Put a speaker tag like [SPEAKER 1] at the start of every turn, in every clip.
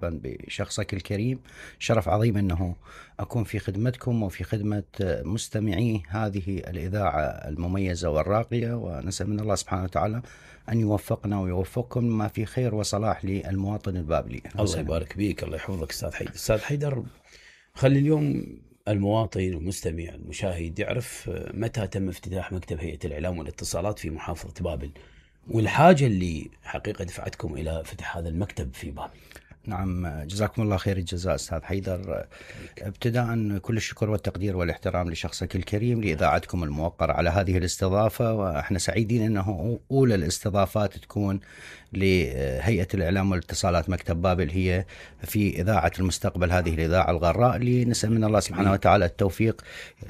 [SPEAKER 1] مرحبا بشخصك الكريم. شرف عظيم أنه أكون في خدمتكم وفي خدمة مستمعي هذه الإذاعة المميزة والراقية، ونسأل من الله سبحانه وتعالى أن يوفقنا ويوفقكم ما في خير وصلاح للمواطن البابلي.
[SPEAKER 2] الله يبارك بيك، الله يحفظك أستاذ حيدر. أستاذ حيدر، خلي اليوم المواطن المستمع المشاهد يعرف متى تم افتتاح مكتب هيئة الإعلام والاتصالات في محافظة بابل، والحاجة اللي حقيقة دفعتكم إلى فتح هذا المكتب في بابل.
[SPEAKER 1] نعم، جزاكم الله خير الجزاء أستاذ حيدر. ابتداء كل الشكر والتقدير والاحترام لشخصك الكريم لإذاعتكم الموقرة على هذه الاستضافة، وإحنا سعيدين أنه أولى الاستضافات تكون لهيئة الإعلام والاتصالات مكتب بابل هي في إذاعة المستقبل، هذه الإذاعة الغراء اللي نسأل من الله سبحانه وتعالى التوفيق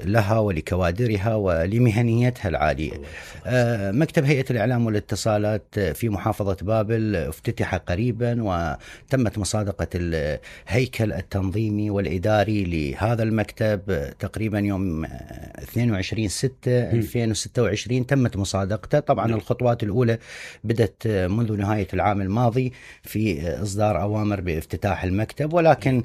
[SPEAKER 1] لها ولكوادرها ولمهنيتها العالية. مكتب هيئة الإعلام والاتصالات في محافظة بابل افتتح قريبا، وتمت مصادقة الهيكل التنظيمي والإداري لهذا المكتب تقريبا يوم 22/6/2026 تمت مصادقته. طبعا الخطوات الأولى بدأت منذ نهاية العام الماضي في إصدار أوامر بافتتاح المكتب، ولكن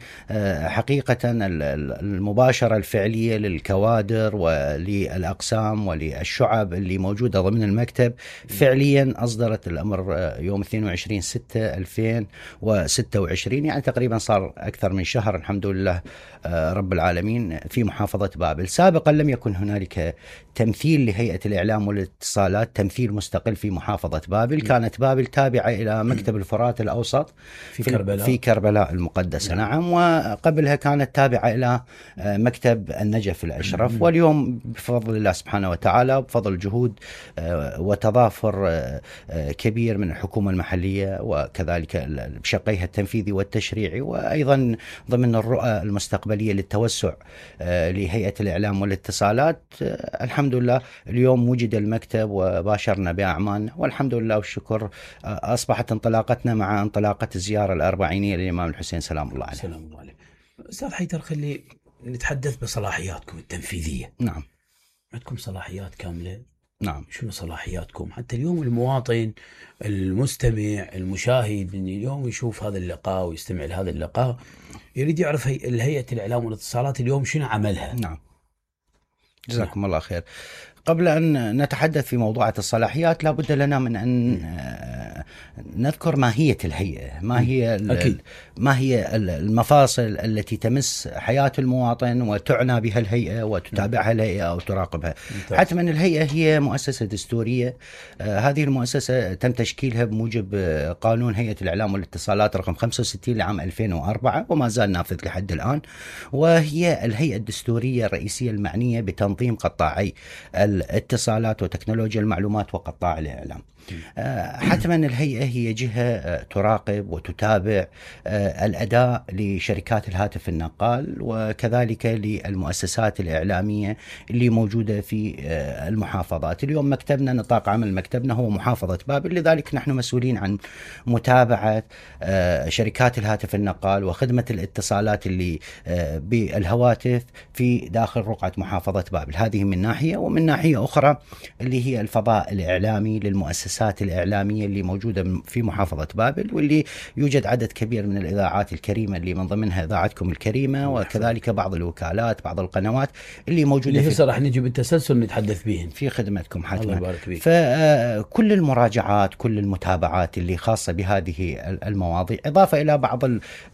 [SPEAKER 1] حقيقة المباشرة الفعلية للكوادر وللأقسام وللشعب اللي موجودة ضمن المكتب فعليا أصدرت الأمر يوم 22/6/2026، يعني تقريبا صار أكثر من شهر الحمد لله رب العالمين في محافظة بابل. سابقا لم يكن هنالك تمثيل لهيئة الإعلام والاتصالات، تمثيل مستقل في محافظة بابل. كانت بابل تابعة إلى مكتب الفرات الأوسط في كربلاء المقدسة. نعم، وقبلها كانت تابعة إلى مكتب النجف الأشرف. واليوم بفضل الله سبحانه وتعالى، بفضل جهود وتضافر كبير من الحكومة المحلية وكذلك بشقيها التنفيذي والتشريعي، وأيضا ضمن الرؤى المستقبلية للتوسع لهيئة الإعلام والاتصالات، الحمد لله اليوم وجد المكتب وباشرنا بأعمالنا والحمد لله والشكر. أصبحت انطلاقتنا مع انطلاقة الزيارة الأربعينية للإمام الحسين سلام الله عليه.
[SPEAKER 2] سلام الله عليه. أستاذ حيدر، خلي نتحدث بصلاحياتكم التنفيذية.
[SPEAKER 1] نعم،
[SPEAKER 2] عندكم صلاحيات كاملة.
[SPEAKER 1] نعم،
[SPEAKER 2] شنو صلاحياتكم حتى اليوم المواطن المستمع المشاهد اليوم يشوف هذا اللقاء ويستمع لهذا اللقاء يريد يعرف هيئة الإعلام والاتصالات اليوم شنو عملها؟
[SPEAKER 1] نعم، جزاكم الله خير. قبل أن نتحدث في موضوع الصلاحيات لابد لنا من أن نذكر ماهية الهيئة، ما هي المفاصل التي تمس حياة المواطن وتعنى بها الهيئة وتتابعها الهيئة أو تراقبها. حتما الهيئة هي مؤسسة دستورية. هذه المؤسسة تم تشكيلها بموجب قانون هيئة الإعلام والاتصالات رقم 65 لعام 2004 وما زال نافذ لحد الآن، وهي الهيئة الدستورية الرئيسية المعنية بتنظيم قطاعي الاتصالات وتكنولوجيا المعلومات وقطاع الإعلام. حتما الهيئة هي جهة تراقب وتتابع الأداء لشركات الهاتف النقال وكذلك للمؤسسات الإعلامية اللي موجودة في المحافظات. اليوم مكتبنا، نطاق عمل مكتبنا هو محافظة بابل، لذلك نحن مسؤولين عن متابعة شركات الهاتف النقال وخدمة الاتصالات اللي بالهواتف في داخل رقعة محافظة بابل. هذه من ناحية، ومن ناحية أخرى اللي هي الفضاء الإعلامي للمؤسسات الإعلامية اللي موجودة في محافظة بابل، واللي يوجد عدد كبير من الإذاعات الكريمة اللي من ضمنها إذاعتكم الكريمة وكذلك بعض الوكالات، بعض القنوات اللي موجودة
[SPEAKER 2] اللي راح نجي بالتسلسل نتحدث بهن
[SPEAKER 1] في خدمتكم حتما.
[SPEAKER 2] الله يبارك فيك.
[SPEAKER 1] فكل المراجعات، كل المتابعات اللي خاصة بهذه المواضيع، إضافة إلى بعض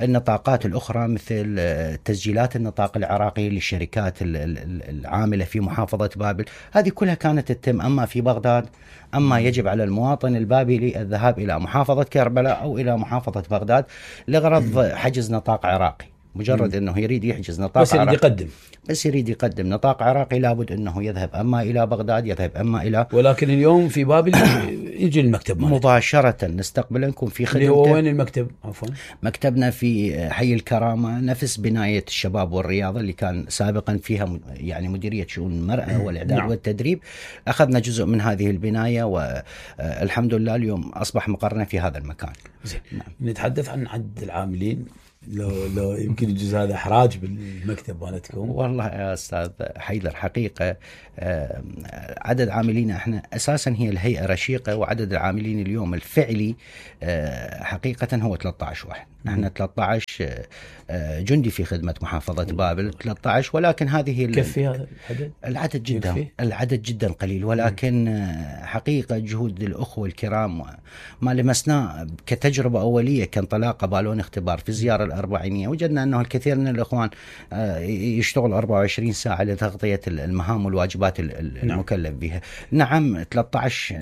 [SPEAKER 1] النطاقات الأخرى مثل تسجيلات النطاق العراقي للشركات العاملة في محافظة بابل، هذه كلها كانت تتم أما في بغداد، أما يجب على المواطن البابلي الذهاب إلى محافظة كربلاء أو إلى محافظة بغداد لغرض حجز نطاق عراقي. مجرد أنه يريد يحجز نطاق عراقي بس يريد يقدم نطاق عراقي لابد أنه يذهب أما إلى بغداد، يذهب أما إلى.
[SPEAKER 2] ولكن اليوم في بابل يجي المكتب
[SPEAKER 1] مباشرة نستقبلكم في خدمته.
[SPEAKER 2] هو وين المكتب؟ عفوا،
[SPEAKER 1] مكتبنا في حي الكرامة، نفس بناية الشباب والرياضة اللي كان سابقا فيها يعني مديرية شؤون المرأة والإعداد والتدريب. أخذنا جزء من هذه البناية والحمد لله اليوم أصبح مقرنا في هذا المكان.
[SPEAKER 2] زين. نتحدث عن عدد العاملين لو يمكن يجوز هذا احراج بالمكتب مالتكم.
[SPEAKER 1] والله يا استاذ حيدر حقيقه عدد عاملينا احنا اساسا هي الهيئه رشيقه، وعدد العاملين اليوم الفعلي حقيقه هو 13 واحد. احنا 13 جندي في خدمه محافظه بابل 13، ولكن هذه
[SPEAKER 2] يكفي هذا العدد؟
[SPEAKER 1] العدد جدا قليل، ولكن حقيقه جهود الاخوه الكرام ما لمسناه كتجربه اوليه كانطلاقه بالون اختبار في الزياره الاربعينيه، وجدنا انه الكثير من الاخوان يشتغل 24 ساعه لتغطيه المهام والواجبات المكلف بها. نعم 13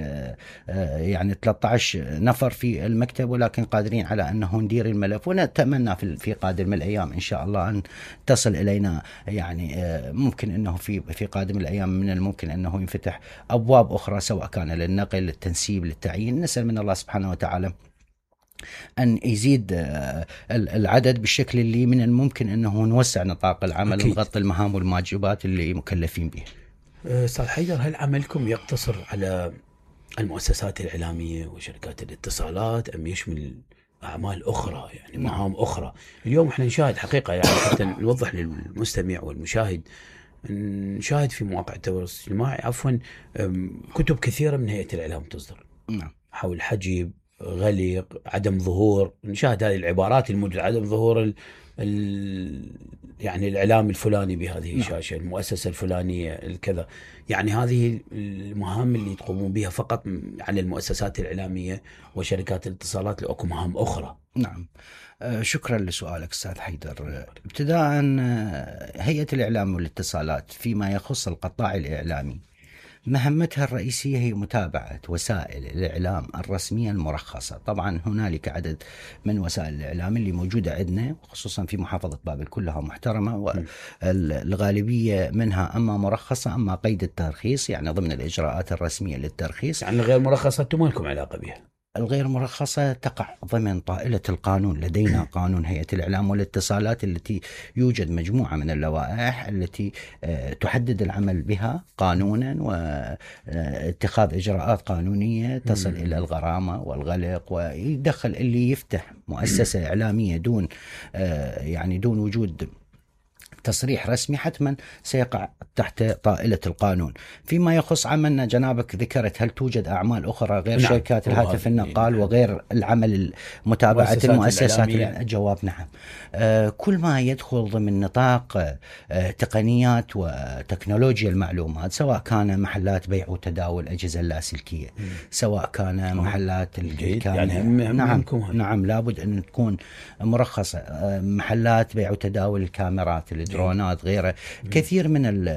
[SPEAKER 1] يعني 13 نفر في المكتب، ولكن قادرين على انه ندير الملف، ونتمنى في قادم الايام ان شاء الله ان تصل الينا، يعني ممكن انه في قادم الايام من الممكن انه ينفتح ابواب اخرى، سواء كان للنقل، للتنسيب، للتعيين. نسال من الله سبحانه وتعالى أن يزيد العدد بالشكل اللي من الممكن أنه نوسع نطاق العمل ونغطي المهام والواجبات اللي مكلفين بها.
[SPEAKER 2] أستاذ حيدر، هل عملكم يقتصر على المؤسسات الإعلامية وشركات الاتصالات أم يشمل أعمال أخرى، يعني مهام أخرى؟ اليوم احنا نشاهد حقيقة، يعني حتى نوضح للمستمع والمشاهد، نشاهد في مواقع التواصل الاجتماعي كتب كثيرة من هيئة الإعلام تصدر حول حجب، غلق، عدم ظهور. نشاهد هذه العبارات الموجودة، عدم ظهور يعني الإعلام الفلاني بهذه الشاشة، المؤسسة الفلانية الكذا. يعني هذه المهام اللي تقومون بها فقط على المؤسسات الإعلامية وشركات الاتصالات، لو أكو مهام أخرى؟
[SPEAKER 1] نعم، شكرا لسؤالك أستاذ حيدر. ابتداء هيئة الإعلام والاتصالات فيما يخص القطاع الإعلامي مهمتها الرئيسية هي متابعة وسائل الإعلام الرسمية المرخصة. طبعا هنالك عدد من وسائل الإعلام اللي موجودة عندنا، خصوصا في محافظة بابل كلها محترمة، والغالبية منها أما مرخصة أما قيد الترخيص، يعني ضمن الإجراءات الرسمية للترخيص.
[SPEAKER 2] يعني غير مرخصة أنتم ما لكم علاقة بها؟
[SPEAKER 1] الغير مرخصة تقع ضمن طائلة القانون. لدينا قانون هيئة الإعلام والاتصالات التي يوجد مجموعة من اللوائح التي تحدد العمل بها قانونا واتخاذ إجراءات قانونية تصل إلى الغرامة والغلق، ويدخل اللي يفتح مؤسسة إعلامية دون يعني دون وجود تصريح رسمي حتما سيقع تحت طائلة القانون. فيما يخص عملنا، جنابك ذكرت هل توجد أعمال أخرى غير شركات الهاتف النقال وغير العمل متابعة المؤسسات؟ الجواب نعم. كل ما يدخل ضمن نطاق تقنيات وتكنولوجيا المعلومات، سواء كان محلات بيع وتداول أجهزة اللاسلكية، سواء كان محلات
[SPEAKER 2] يعني
[SPEAKER 1] نعم لابد أن تكون مرخصة. محلات بيع وتداول الكاميرات، الدرونات، غيره. كثير من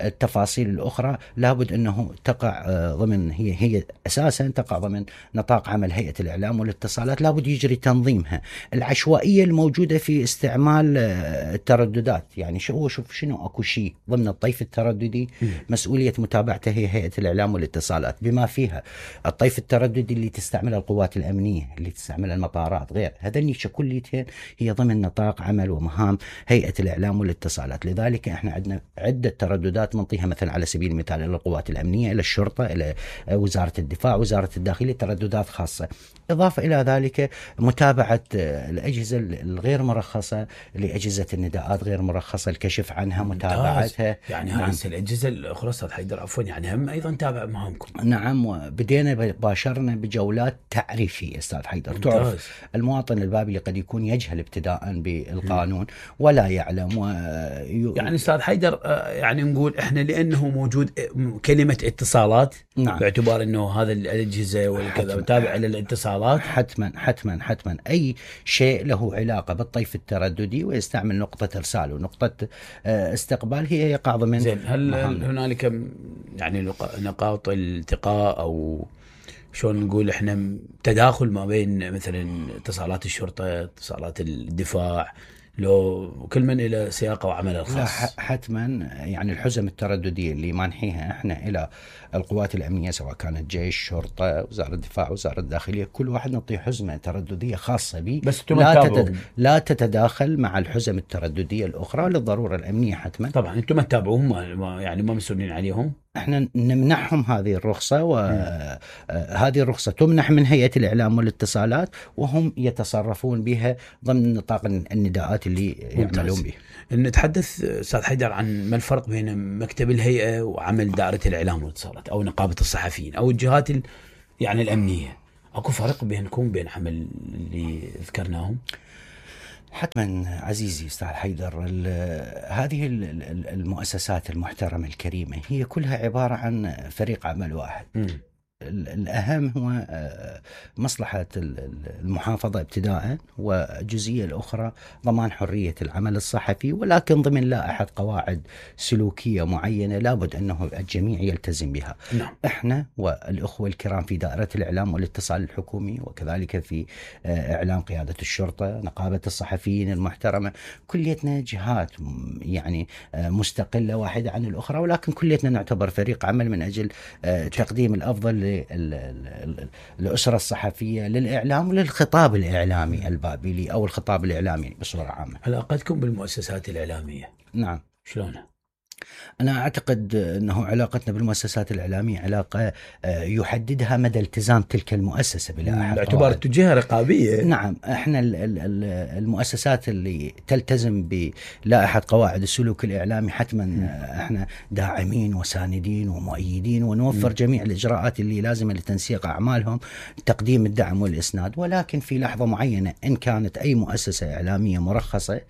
[SPEAKER 1] التفاصيل الأخرى لابد أنه تقع ضمن، هي أساسا تقع ضمن نطاق عمل هيئة الإعلام والاتصالات. لابد يجري تنظيمها. العشوائية الموجودة في استعمال الترددات، يعني شوف شنو أكو شيء ضمن الطيف الترددي مسؤولية متابعته هي هيئة الإعلام والاتصالات، بما فيها الطيف الترددي اللي تستعمله القوات الأمنية، اللي تستعمل المطارات، غير هذا كليتين هي ضمن نطاق عمل ومهام هيئة الإعلام والاتصالات. لذلك احنا عندنا عدة ترددات نعطيها، مثلا على سبيل المثال إلى القوات الأمنية، إلى الشرطة، إلى وزارة الدفاع، وزارة الداخلية، ترددات خاصة. إضافة إلى ذلك متابعة الأجهزة الغير مرخصة لأجهزة النداءات غير مرخصة، الكشف عنها، متابعتها.
[SPEAKER 2] يعني نعم. هذه الأجهزة الأخرى أستاذ حيدر عفوا، يعني هم أيضا تابع مهامكم؟
[SPEAKER 1] نعم، وبدينا باشرنا بجولات تعريفية أستاذ حيدر. تعرف المواطن البابلي قد يكون يجهل ابتداء بالقانون ولا يعلم
[SPEAKER 2] يعني أستاذ حيدر يعني نقول إحنا لأنه موجود كلمة اتصالات، نعم، باعتبار أنه هذا الأجهزة والكذا تابع إلى الاتصالات،
[SPEAKER 1] حتما أي شيء له علاقة بالطيف الترددي ويستعمل نقطة إرسال ونقطة استقبال هي يقع ضمن.
[SPEAKER 2] زين، هل هنالك يعني نقاط التقاء أو شلون نقول احنا تداخل ما بين مثلا اتصالات الشرطة، اتصالات الدفاع، لو كل من إلى سياقه وعمله الخاص؟
[SPEAKER 1] حتما. يعني الحزم الترددية اللي مانحيها احنا إلى القوات الأمنية، سواء كانت جيش، شرطة، وزارة الدفاع، وزارة الداخلية، كل واحد نعطيه حزمة ترددية خاصة به،
[SPEAKER 2] بس
[SPEAKER 1] لا تتداخل مع الحزم الترددية الأخرى للضرورة الأمنية. حتما
[SPEAKER 2] طبعا أنتم ما تتابعوهم، يعني ما مسؤولين عليهم.
[SPEAKER 1] احنا نمنحهم هذه الرخصة، وهذه الرخصة تمنح من هيئة الإعلام والاتصالات، وهم يتصرفون بها ضمن نطاق النداءات اللي يعملون بها.
[SPEAKER 2] نتحدث أستاذ حيدر عن ما الفرق بين مكتب الهيئة وعمل دائرة الإعلام والاتصالات أو نقابة الصحفيين أو الجهات يعني الأمنية. أكو فرق بينكم بين عمل اللي ذكرناهم؟
[SPEAKER 1] حتما عزيزي أستاذ حيدر، هذه المؤسسات المحترمة الكريمة هي كلها عبارة عن فريق عمل واحد. الأهم هو مصلحة المحافظة ابتداء، والجزئية الأخرى ضمان حرية العمل الصحفي، ولكن ضمن لائحة قواعد سلوكية معينة لابد أنه الجميع يلتزم بها. إحنا والأخوة الكرام في دائرة الإعلام والاتصال الحكومي، وكذلك في إعلام قيادة الشرطة، نقابة الصحفيين المحترمة، كليتنا جهات يعني مستقلة واحدة عن الأخرى، ولكن كليتنا نعتبر فريق عمل من أجل تقديم الأفضل للأسرة الصحفية، للإعلام وللخطاب الإعلامي البابلي أو الخطاب الإعلامي بصورة عامة.
[SPEAKER 2] علاقتكم بالمؤسسات الإعلامية؟
[SPEAKER 1] نعم.
[SPEAKER 2] شلونها؟
[SPEAKER 1] أنا أعتقد أنه علاقتنا بالمؤسسات الإعلامية علاقة يحددها مدى التزام تلك المؤسسة بلائحة
[SPEAKER 2] باعتبار جهة رقابية.
[SPEAKER 1] نعم، احنا المؤسسات اللي تلتزم بلائحة قواعد السلوك الإعلامي حتما احنا داعمين وساندين ومؤيدين، ونوفر جميع الإجراءات اللي لازمة لتنسيق أعمالهم، تقديم الدعم والإسناد. ولكن في لحظة معينة إن كانت أي مؤسسة إعلامية مرخصة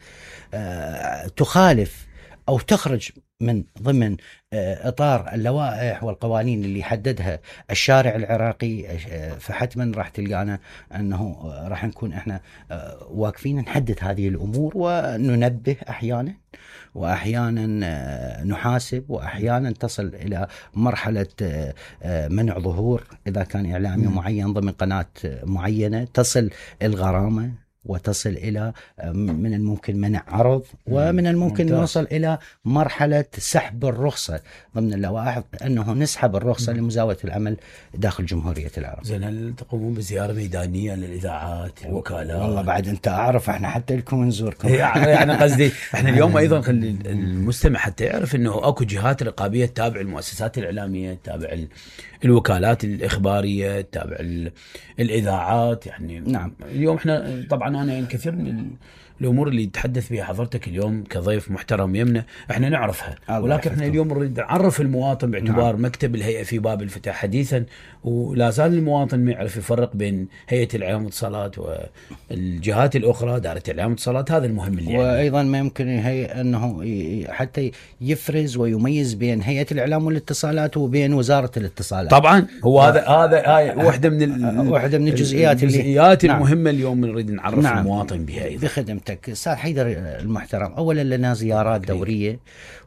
[SPEAKER 1] تخالف أو تخرج من ضمن إطار اللوائح والقوانين اللي حددها الشارع العراقي، فحتما راح تلقانا أنه راح نكون إحنا واقفين نحدد هذه الأمور وننبه أحيانا، وأحيانا نحاسب، وأحيانا تصل إلى مرحلة منع ظهور إذا كان إعلامي معين ضمن قناة معينة، تصل الغرامة، وتصل إلى من الممكن منع عرض، ومن الممكن نوصل إلى مرحلة سحب الرخصة ضمن اللوائح، أنه نسحب الرخصة لمزاولة العمل داخل جمهورية العراق.
[SPEAKER 2] زين، هل تقومون بزيارة ميدانية للإذاعات الوكالات؟
[SPEAKER 1] والله بعد أنت أعرف إحنا حتى لكم نزوركم.
[SPEAKER 2] يعني قصدي إحنا اليوم أيضا خلي المستمع حتى يعرف أنه أكو جهات رقابية تتابع المؤسسات الإعلامية، تتابع الوكالات الإخبارية، تتابع الإذاعات. يعني
[SPEAKER 1] نعم.
[SPEAKER 2] اليوم إحنا طبعا أنا يعني كثير من الأمور اللي تحدث بها حضرتك اليوم كضيف محترم يمنا إحنا نعرفها، ولكن إحنا اليوم نريد نعرف المواطن باعتبار نعم. مكتب الهيئة في باب الفتح حديثا، ولا زال المواطن ما يعرف يفرق بين هيئة الإعلام والاتصالات والجهات الأخرى، دائرة الإعلام والاتصالات. هذا المهم اللي
[SPEAKER 1] وأيضا ما يمكن أنه حتى يفرز ويميز بين هيئة الإعلام والاتصالات وبين وزارة الاتصالات.
[SPEAKER 2] طبعا هو هذا واحدة من
[SPEAKER 1] الجزئيات
[SPEAKER 2] المهمة نعم. اليوم نريد نعرف نعم. المواطن بها أيضا.
[SPEAKER 1] بخدمتك أستاذ حيدر المحترم، أولا لنا زيارات دورية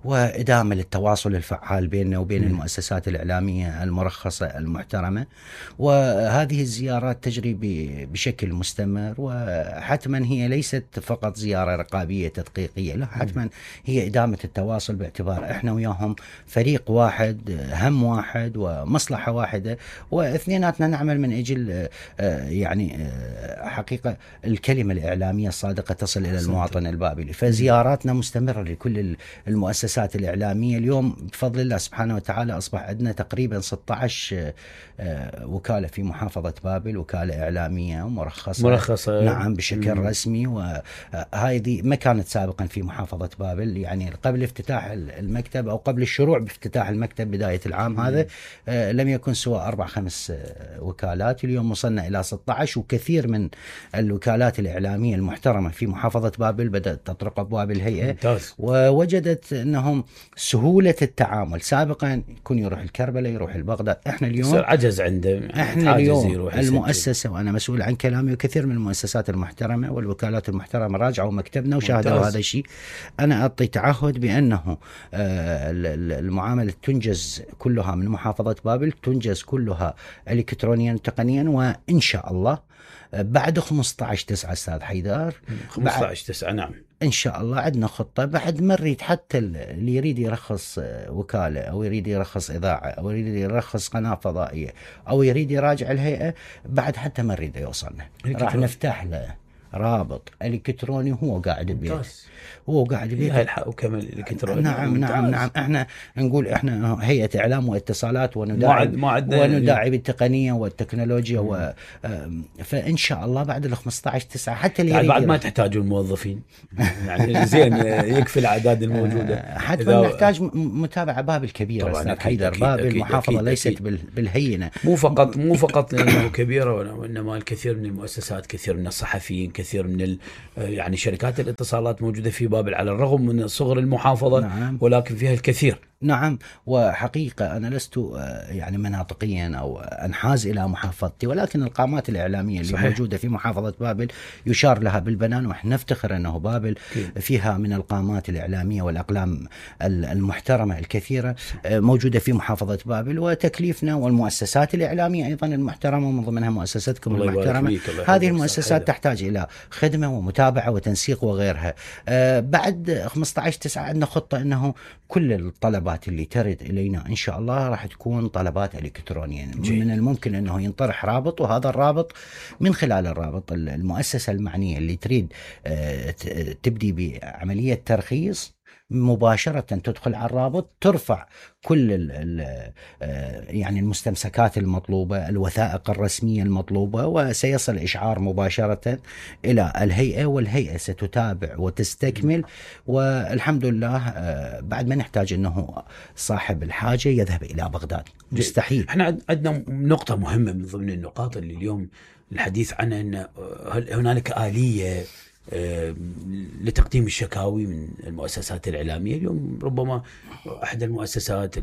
[SPEAKER 1] وإدامة للتواصل الفعال بيننا وبين المؤسسات الإعلامية المرخصة المحترمة، وهذه الزيارات تجري بشكل مستمر، وحتما هي ليست فقط زيارة رقابية تدقيقية، لا حتما هي إدامة التواصل، باعتبار إحنا وياهم فريق واحد، هم واحد ومصلحة واحدة، واثنيناتنا نعمل من أجل يعني حقيقة الكلمة الإعلامية الصادقة تصل إلى المواطن البابلي. فزياراتنا مستمرة لكل المؤسسات الإعلامية. اليوم بفضل الله سبحانه وتعالى أصبح عندنا تقريبا 16 وكالة في محافظة بابل، وكالة إعلامية مرخصة نعم بشكل رسمي، وهذه ما كانت سابقا في محافظة بابل. يعني قبل افتتاح المكتب أو قبل الشروع بافتتاح المكتب بداية العام هذا لم يكن سوى 4-5 وكالات. اليوم وصلنا إلى 16، وكثير من الوكالات الإعلامية المحترمة في محافظة بابل بدأت تطرق أبواب الهيئة
[SPEAKER 2] ممتاز.
[SPEAKER 1] ووجدت أنهم سهولة التعامل. سابقا يكون يروح الكربلاء، يروح البغداد، احنا اليوم
[SPEAKER 2] عجز عنده.
[SPEAKER 1] احنا اليوم المؤسسة، وأنا مسؤول عن كلامي، وكثير من المؤسسات المحترمة والوكالات المحترمة راجعوا مكتبنا وشاهدوا هذا الشيء. أنا أعطي تعهد بأنه المعاملة تنجز كلها من محافظة بابل، تنجز كلها إلكترونيا تقنيا، وإن شاء الله بعد 15/9 أستاذ حيدر،
[SPEAKER 2] 15/9 نعم
[SPEAKER 1] إن شاء الله عندنا خطة. بعد ما نريد حتى اللي يريد يرخص وكالة، أو يريد يرخص إذاعة، أو يريد يرخص قناة فضائية، أو يريد يراجع الهيئة، بعد حتى ما نريد يوصلنا، راح نفتح له رابط الكتروني هو قاعد ببيته، هو قاعد
[SPEAKER 2] ببيته الحق وكمل الكتروني.
[SPEAKER 1] نعم احنا نقول احنا هيئة اعلام واتصالات ونداعي بالتقنية والتكنولوجيا فان شاء الله بعد ال 15/9 حتى اللي
[SPEAKER 2] يعني بعد ما تحتاجوا الموظفين يعني زين يكفي الاعداد الموجودة.
[SPEAKER 1] حتى نحتاج متابعة بابل كبيرة استاذ حيدر. بابل المحافظة ليست بالهينة،
[SPEAKER 2] مو فقط لأنه كبيرة، وإنما الكثير من المؤسسات، كثير من الصحفيين، كثير من يعني شركات الاتصالات موجودة في بابل على الرغم من صغر المحافظة. نعم. ولكن فيها الكثير.
[SPEAKER 1] نعم. وحقيقة أنا لست يعني مناطقيا أو أنحاز إلى محافظتي، ولكن القامات الإعلامية اللي صحيح. موجودة في محافظة بابل يشار لها بالبنان، ونحن نفتخر أنه بابل فيها من القامات الإعلامية والأقلام المحترمة الكثيرة موجودة في محافظة بابل. وتكليفنا والمؤسسات الإعلامية أيضا المحترمة، ومن ضمنها مؤسستكم المحترمة، هذه المؤسسات تحتاج إلى خدمة ومتابعة وتنسيق وغيرها. بعد 15/9 عندنا خطة أنه كل الطلبات اللي ترد إلينا إن شاء الله راح تكون طلبات إلكترونية. من الممكن أنه ينطرح رابط، وهذا الرابط من خلال الرابط المؤسسة المعنية اللي تريد تبدي بعملية ترخيص مباشرة تدخل على الرابط، ترفع كل يعني المستمسكات المطلوبة، الوثائق الرسمية المطلوبة، وسيصل إشعار مباشرة إلى الهيئة، والهيئة ستتابع وتستكمل. والحمد لله بعد ما نحتاج أنه صاحب الحاجة يذهب إلى بغداد، مستحيل.
[SPEAKER 2] احنا عندنا نقطة مهمة من ضمن النقاط اللي اليوم الحديث عنها، أن هنالك آلية لتقديم الشكاوي من المؤسسات الإعلامية. اليوم ربما أحد المؤسسات،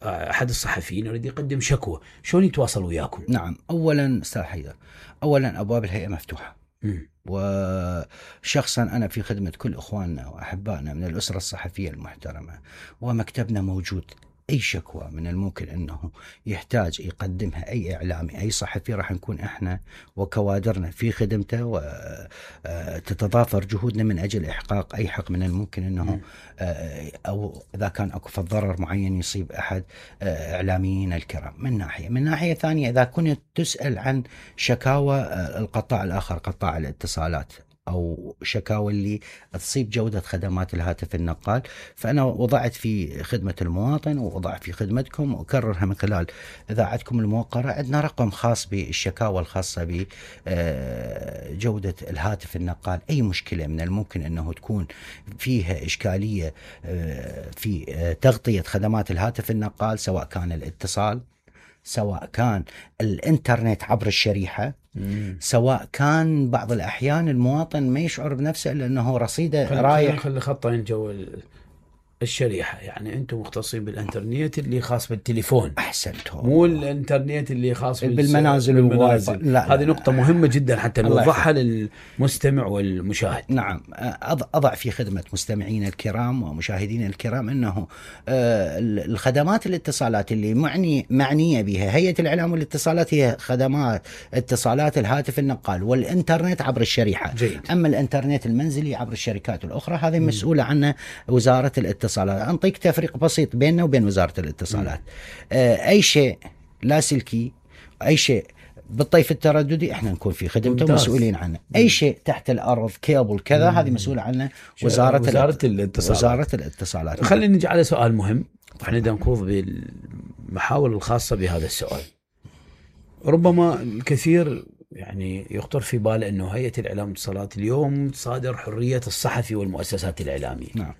[SPEAKER 2] أحد الصحفيين يريد يقدم شكوى، شلون يتواصل وياكم؟
[SPEAKER 1] نعم، أولا أستاذ حيدر، أولا أبواب الهيئة مفتوحة، وشخصا أنا في خدمة كل إخواننا وأحبائنا من الأسرة الصحفية المحترمة، ومكتبنا موجود. أي شكوى من الممكن أنه يحتاج يقدمها أي إعلامي، أي صحفي، راح نكون إحنا وكوادرنا في خدمته، وتتضافر جهودنا من أجل إحقاق أي حق من الممكن أنه أو إذا كان أكو ضرر معين يصيب أحد إعلاميين الكرام. من ناحية ثانية، إذا كنت تسأل عن شكاوى القطاع الآخر، قطاع الاتصالات، أو شكاوى اللي تصيب جودة خدمات الهاتف النقال، فأنا وضعت في خدمة المواطن، ووضع في خدمتكم، وأكررها من خلال إذاعتكم الموقرة. عندنا رقم خاص بالشكاوى الخاصة بجودة الهاتف النقال. أي مشكلة من الممكن أنه تكون فيها إشكالية في تغطية خدمات الهاتف النقال، سواء كان الاتصال، سواء كان الإنترنت عبر الشريحة، سواء كان بعض الأحيان المواطن ما يشعر بنفسه إلا أنه رصيده رايح.
[SPEAKER 2] خلي خطين جو الشريحة، يعني أنتم مختصين بالإنترنت اللي خاص بالتليفون.
[SPEAKER 1] أحسنتم.
[SPEAKER 2] مو الإنترنت اللي خاص
[SPEAKER 1] بالمنازل والموبايل.
[SPEAKER 2] هذه نقطة مهمة جدا حتى نوضحها للمستمع والمشاهد.
[SPEAKER 1] نعم، أضع في خدمة مستمعين الكرام ومشاهدين الكرام أنه الخدمات الاتصالات اللي معنية بها هيئة الإعلام والاتصالات هي خدمات اتصالات الهاتف النقال والإنترنت عبر الشريحة.
[SPEAKER 2] جيد.
[SPEAKER 1] أما الإنترنت المنزلي عبر الشركات الأخرى هذه مسؤولة عنه وزارة الاتصالات. أنطيك تفريق بسيط بيننا وبين وزارة الاتصالات. أي شيء لاسلكي، أي شيء بالطيف الترددي، احنا نكون في خدمته مسؤولين عنه. أي شيء تحت الأرض، كيبل كذا، هذه مسؤولة عنه وزارة الاتصالات.
[SPEAKER 2] خلينا نجي على سؤال مهم، احنا نخوض بالمحاور الخاصة بهذا السؤال. ربما الكثير يعني يخطر في باله أنه هيئة الإعلام والاتصالات اليوم تصادر حرية الصحفي والمؤسسات الإعلامية.
[SPEAKER 1] نعم.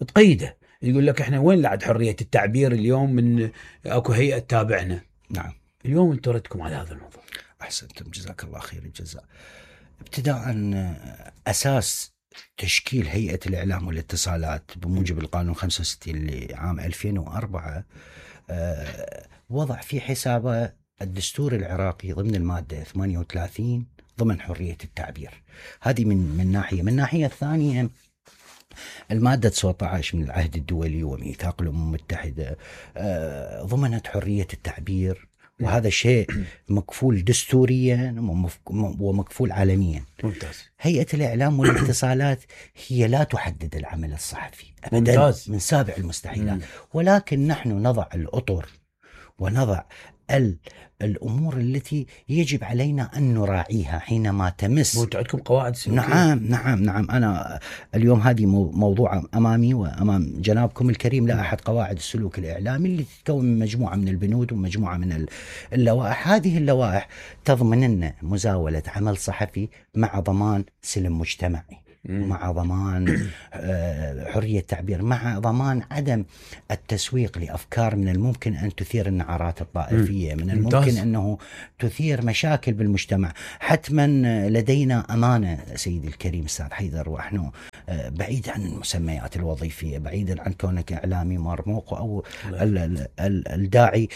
[SPEAKER 2] تقيده، يقول لك احنا وين لعد حرية التعبير اليوم من اكو هيئة تابعنا.
[SPEAKER 1] نعم.
[SPEAKER 2] اليوم انتم ردكم على هذا الموضوع.
[SPEAKER 1] احسنتم، جزاك الله خير الجزاء. ابتداء اساس تشكيل هيئة الإعلام والاتصالات بموجب القانون 65 لعام 2004 وضع في حسابه الدستور العراقي ضمن المادة 38 ضمن حرية التعبير. هذه من ناحية. من ناحية ثانية، المادة 19 من العهد الدولي وميثاق الأمم المتحدة ضمنت حرية التعبير، وهذا شيء مكفول دستوريا ومكفول عالميا.
[SPEAKER 2] ممتاز.
[SPEAKER 1] هيئة الإعلام والاتصالات هي لا تحدد العمل الصحفي أبدا.
[SPEAKER 2] ممتاز.
[SPEAKER 1] من سابع المستحيلات. ولكن نحن نضع الأطر ونضع الأمور التي يجب علينا أن نراعيها حينما تمس.
[SPEAKER 2] وانتم عندكم قواعد سلوكية؟
[SPEAKER 1] نعم. أنا اليوم هذه موضوع أمامي وأمام جنابكم الكريم، لائحة قواعد السلوك الإعلامي اللي تتكون من مجموعة من البنود ومجموعة من اللوائح. هذه اللوائح تضمن لنا مزاولة عمل صحفي مع ضمان سلم مجتمعي، مع ضمان حرية تعبير، مع ضمان عدم التسويق لأفكار من الممكن أن تثير النعرات الطائفية، من الممكن أنه تثير مشاكل بالمجتمع. حتما لدينا أمانة سيدي الكريم أستاذ حيدر، ونحن بعيد عن المسميات الوظيفية، بعيدا عن كونك إعلامي مرموق أو الداعي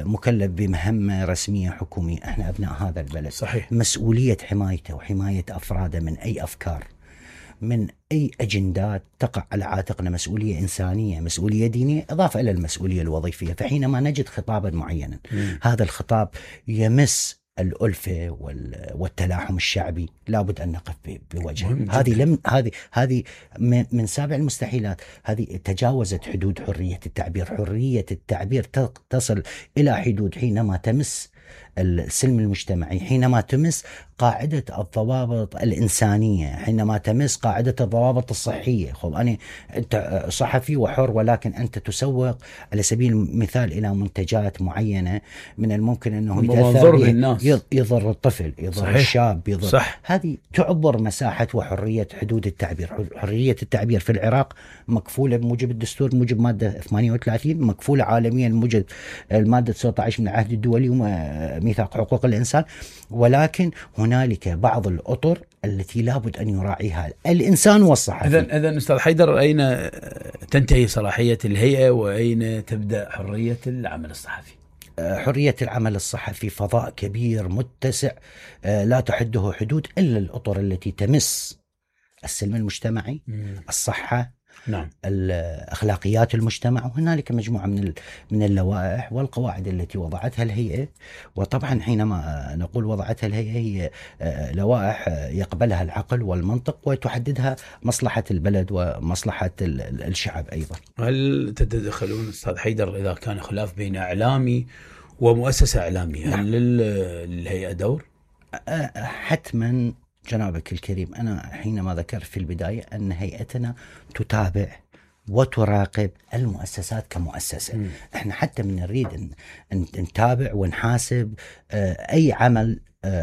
[SPEAKER 1] مكلف بمهمة رسمية حكومية. احنا أبناء هذا البلد،
[SPEAKER 2] صحيح.
[SPEAKER 1] مسؤولية حمايته وحماية أفراده من أي أفكار، من أي أجندات تقع على عاتقنا، مسؤولية إنسانية، مسؤولية دينية، إضافة إلى المسؤولية الوظيفية. فحينما نجد خطابا معينا هذا الخطاب يمس الألفة والتلاحم الشعبي، لابد أن نقف بوجهه. هذه من سابع المستحيلات. هذه تجاوزت حدود حرية التعبير. حرية التعبير تصل إلى حدود حينما تمس السلم المجتمعي، حينما تمس قاعدة الضوابط الإنسانية، حينما تمس قاعدة الضوابط الصحية. أنت صحفي وحر، ولكن أنت تسوق على سبيل المثال إلى منتجات معينة من الممكن أنه يضر الطفل، يضر صحيح. الشاب، يضر صح. هذه تعبر مساحة وحرية حدود التعبير. حرية التعبير في العراق مكفولة بموجب الدستور، بموجب مادة 38، مكفولة عالميا بموجب المادة 19 من العهد الدولي وميثاق حقوق الإنسان. ولكن هنالك بعض الأطر التي لابد أن يراعيها الإنسان والصحفي.
[SPEAKER 2] إذن أستاذ حيدر، أين تنتهي صلاحية الهيئة وأين تبدأ حرية العمل الصحفي؟
[SPEAKER 1] حرية العمل الصحفي فضاء كبير متسع لا تحده حدود إلا الأطر التي تمس السلم المجتمعي، الصحة،
[SPEAKER 2] نعم،
[SPEAKER 1] الأخلاقيات المجتمع. وهنالك مجموعة من اللوائح والقواعد التي وضعتها الهيئة. وطبعا حينما نقول وضعتها الهيئة، هي لوائح يقبلها العقل والمنطق وتحددها مصلحة البلد ومصلحة الشعب أيضا.
[SPEAKER 2] هل تتدخلون أستاذ حيدر إذا كان خلاف بين إعلامي ومؤسسة إعلامية؟ نعم. هل للهيئة دور؟
[SPEAKER 1] حتما جنابك الكريم. أنا حينما ذكرت في البداية أن هيئتنا تتابع وتراقب المؤسسات كمؤسسة. احنا حتى من نريد أن نتابع ونحاسب أي عمل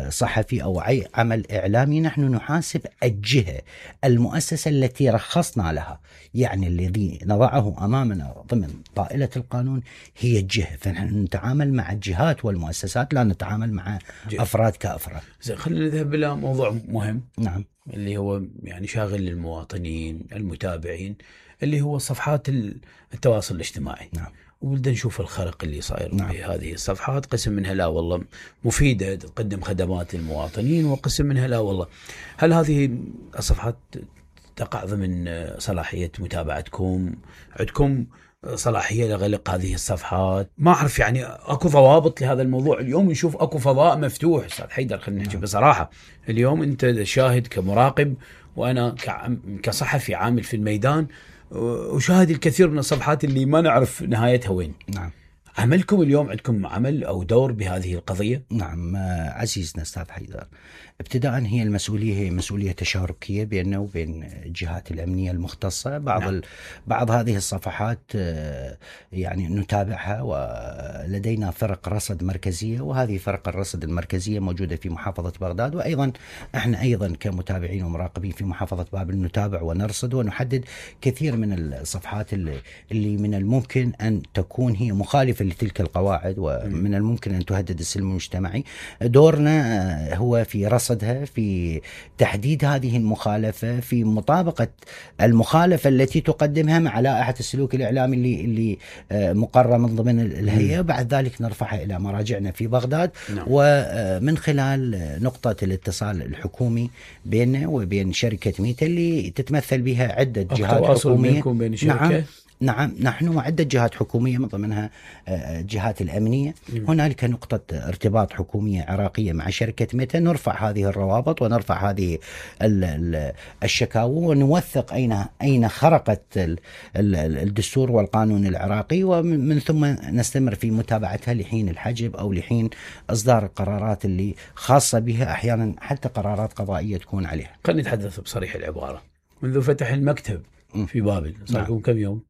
[SPEAKER 1] صحفي أو أي عمل إعلامي، نحن نحاسب الجهة، المؤسسة التي رخصنا لها، يعني الذي نضعه أمامنا ضمن طائلة القانون هي الجهة. فنحن نتعامل مع الجهات والمؤسسات، لا نتعامل مع أفراد كأفراد.
[SPEAKER 2] خلينا نذهب إلى موضوع مهم،
[SPEAKER 1] نعم،
[SPEAKER 2] اللي هو يعني شاغل للمواطنين المتابعين، اللي هو صفحات التواصل الاجتماعي.
[SPEAKER 1] نعم.
[SPEAKER 2] وبدنا نشوف الخرق اللي صاير.
[SPEAKER 1] نعم.
[SPEAKER 2] بهذه الصفحات قسم منها لا والله مفيدة تقدم خدمات للمواطنين، وقسم منها لا والله. هل هذه الصفحات تقع ضمن صلاحية متابعتكم؟ عندكم صلاحية لغلق هذه الصفحات؟ ما أعرف، يعني أكو ضوابط لهذا الموضوع. اليوم نشوف أكو فضاء مفتوح أستاذ حيدر، خلينا نحكي بصراحة. اليوم أنت شاهد كمراقب، وأنا كصحفي عامل في الميدان، وشاهد الكثير من الصفحات اللي ما نعرف نهايتها وين.
[SPEAKER 1] نعم.
[SPEAKER 2] عملكم اليوم، عندكم عمل أو دور بهذه القضية؟
[SPEAKER 1] نعم عزيزنا أستاذ حيدر، ابتداء هي المسؤولية هي مسؤولية تشاركية بيننا وبين الجهات الأمنية المختصة. بعض هذه الصفحات يعني نتابعها، ولدينا فرق رصد مركزية، وهذه فرق الرصد المركزية موجودة في محافظة بغداد. وأيضا احنا أيضا كمتابعين ومراقبين في محافظة بابل نتابع ونرصد ونحدد كثير من الصفحات اللي من الممكن أن تكون هي مخالفة لتلك القواعد، ومن الممكن أن تهدد السلم المجتمعي. دورنا هو في رصدها، في تحديد هذه المخالفة، في مطابقة المخالفة التي تقدمها مع لائحة السلوك الإعلامي اللي مقررة من ضمن الهيئة. بعد ذلك نرفعها إلى مراجعنا في بغداد.
[SPEAKER 2] نعم.
[SPEAKER 1] ومن خلال نقطة الاتصال الحكومي بيننا وبين شركة ميتا اللي تتمثل بها عدة جهات حكومية.
[SPEAKER 2] بين
[SPEAKER 1] نعم، نعم، نحن عدة جهات حكومية من ضمنها الجهات الأمنية. هنالك نقطة ارتباط حكومية عراقية مع شركة ميتا، نرفع هذه الروابط ونرفع هذه الشكاوى ونوثق أين خرقت الدستور والقانون العراقي، ومن ثم نستمر في متابعتها لحين الحجب أو لحين إصدار القرارات اللي خاصة بها، أحيانا حتى قرارات قضائية تكون عليها.
[SPEAKER 2] خلينا نتحدث بصريح العبارة. منذ فتح المكتب في بابل صار لكم كم يوم؟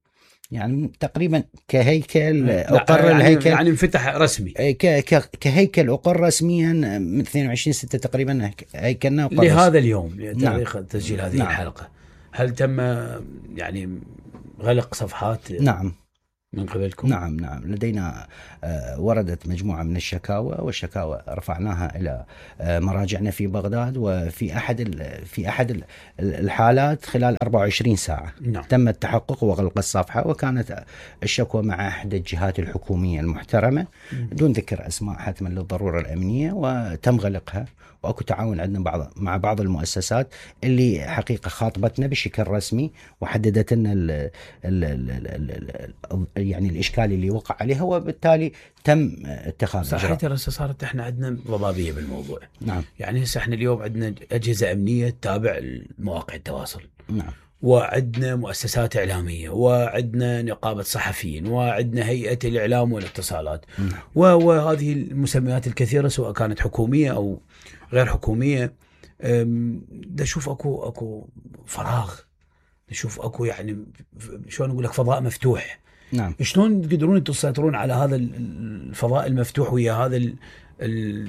[SPEAKER 1] يعني تقريبا كهيكل أقر الهيكل
[SPEAKER 2] يعني انفتح رسمي
[SPEAKER 1] كهيكل أقر رسميا من 22/6 تقريبا هيكلنا
[SPEAKER 2] لهذا اليوم تاريخ تسجيل هذه الحلقة. هل تم يعني غلق صفحات
[SPEAKER 1] نعم
[SPEAKER 2] من قبلكم؟
[SPEAKER 1] نعم لدينا وردت مجموعة من الشكاوى، والشكاوى رفعناها إلى مراجعنا في بغداد، وفي أحد الحالات خلال 24 ساعة تم التحقق وغلق الصفحة، وكانت الشكوى مع أحد الجهات الحكومية المحترمة دون ذكر أسماء حتما للضرورة الأمنية، وتم غلقها. واكو تعاون عندنا مع بعض المؤسسات اللي حقيقة خاطبتنا بشكل رسمي وحددت لنا يعني الإشكال اللي وقع عليها، وبالتالي تم اتخاذ
[SPEAKER 2] صحيح. ترى صارت احنا عندنا ضبابية بالموضوع.
[SPEAKER 1] نعم.
[SPEAKER 2] يعني هسه احنا اليوم عندنا أجهزة أمنية تتابع مواقع التواصل.
[SPEAKER 1] نعم.
[SPEAKER 2] وعندنا مؤسسات إعلامية، وعندنا نقابة صحفيين، وعندنا هيئة الإعلام والاتصالات. وهذه المسميات الكثيرة سواء كانت حكومية أو غير حكومية. نشوف أكو فراغ، نشوف أكو يعني شلون أقول لك فضاء مفتوح.
[SPEAKER 1] نعم.
[SPEAKER 2] شلون تقدرون تسيطرون على هذا الفضاء المفتوح ويا هذا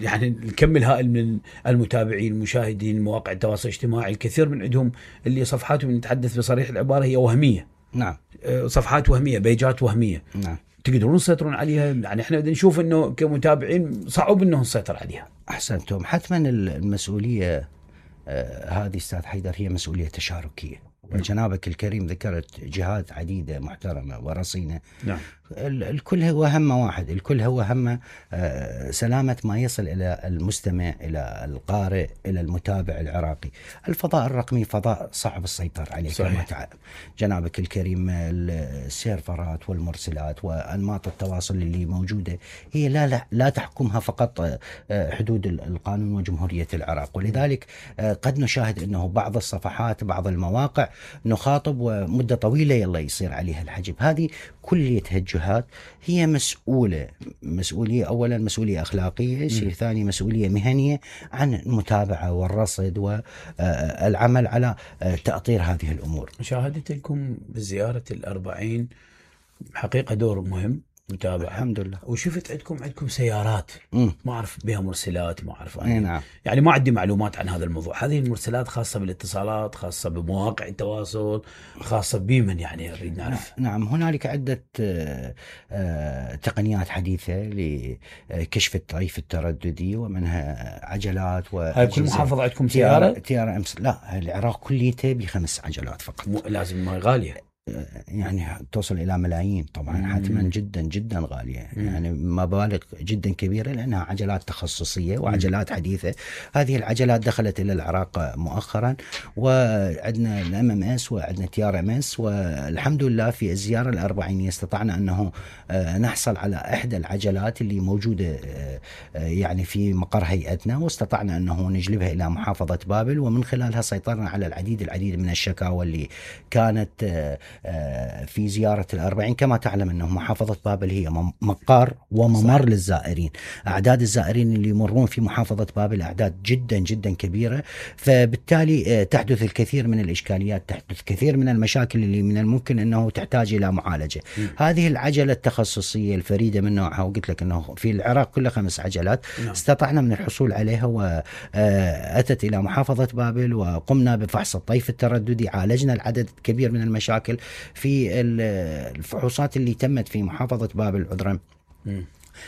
[SPEAKER 2] يعني الكم الهائل من المتابعين المشاهدين مواقع التواصل الاجتماعي؟ الكثير من عندهم اللي صفحاتهم نتحدث بصريح العبارة هي وهمية.
[SPEAKER 1] نعم.
[SPEAKER 2] صفحات وهمية، بيجات وهمية.
[SPEAKER 1] نعم.
[SPEAKER 2] تقدرون تسيطرون عليها؟ يعني احنا نشوف انه كمتابعين صعب انه نسيطر عليها.
[SPEAKER 1] احسنتم. حتما المسؤولية هذه استاذ حيدر هي مسؤولية تشاركية، وجنابك الكريم ذكرت جهات عديدة محترمة ورصينة.
[SPEAKER 2] نعم.
[SPEAKER 1] الكل هو همه واحد، الكل هو همه سلامة ما يصل إلى المستمع، إلى القارئ، إلى المتابع العراقي. الفضاء الرقمي فضاء صعب السيطرة عليه كما تعلم جنابك الكريم. السيرفرات والمرسلات وأنماط التواصل اللي موجودة هي لا تحكمها فقط حدود القانون وجمهورية العراق، ولذلك قد نشاهد أنه بعض الصفحات بعض المواقع نخاطب ومدة طويلة يلا يصير عليها الحجب. هذه كليتها الجهات هي مسؤولية أولا مسؤولية أخلاقية، شيء ثاني مسؤولية مهنية عن المتابعة والرصد والعمل على تأطير هذه الأمور.
[SPEAKER 2] مشاهدتكم بزيارة 40 حقيقة دور مهم متابعة
[SPEAKER 1] الحمد لله.
[SPEAKER 2] وشفت عندكم سيارات ما أعرف بها مرسلات، ما أعرف
[SPEAKER 1] نعم.
[SPEAKER 2] يعني ما عندي معلومات عن هذا الموضوع. هذه المرسلات خاصة بالاتصالات، خاصة بمواقع التواصل، خاصة بمن يعني نريد نعرف.
[SPEAKER 1] نعم. هنالك عدة تقنيات حديثة لكشف الطيف الترددي، ومنها عجلات.
[SPEAKER 2] هاي كل محافظة عندكم سيارة؟
[SPEAKER 1] تيارة لا، العراق كليته ب5 عجلات فقط.
[SPEAKER 2] لازم ما غالية
[SPEAKER 1] يعني توصل إلى ملايين طبعا. حتما جدا جدا غالية. يعني مبالغ جدا كبيرة لأنها عجلات تخصصية وعجلات حديثة. هذه العجلات دخلت إلى العراق مؤخرا، وعندنا الMMS وعندنا TRMS، والحمد لله في الزيارة 40 استطعنا أنه نحصل على إحدى العجلات اللي موجودة يعني في مقر هيئتنا، واستطعنا أنه نجلبها إلى محافظة بابل، ومن خلالها سيطرنا على العديد من الشكاوى اللي كانت في زيارة 40. كما تعلم أنه محافظة بابل هي مقر وممر للزائرين. أعداد الزائرين اللي يمرون في محافظة بابل أعداد جدا جدا كبيرة، فبالتالي تحدث الكثير من الإشكاليات، تحدث كثير من المشاكل اللي من الممكن أنه تحتاج إلى معالجة. هذه العجلة التخصصية الفريدة من نوعها، وقلت لك أنه في العراق كله 5 عجلات، استطعنا من الحصول عليها، وأتت إلى محافظة بابل، وقمنا بفحص الطيف الترددي، عالجنا العدد الكبير من المشاكل في الفحوصات اللي تمت في محافظة بابل. عذرا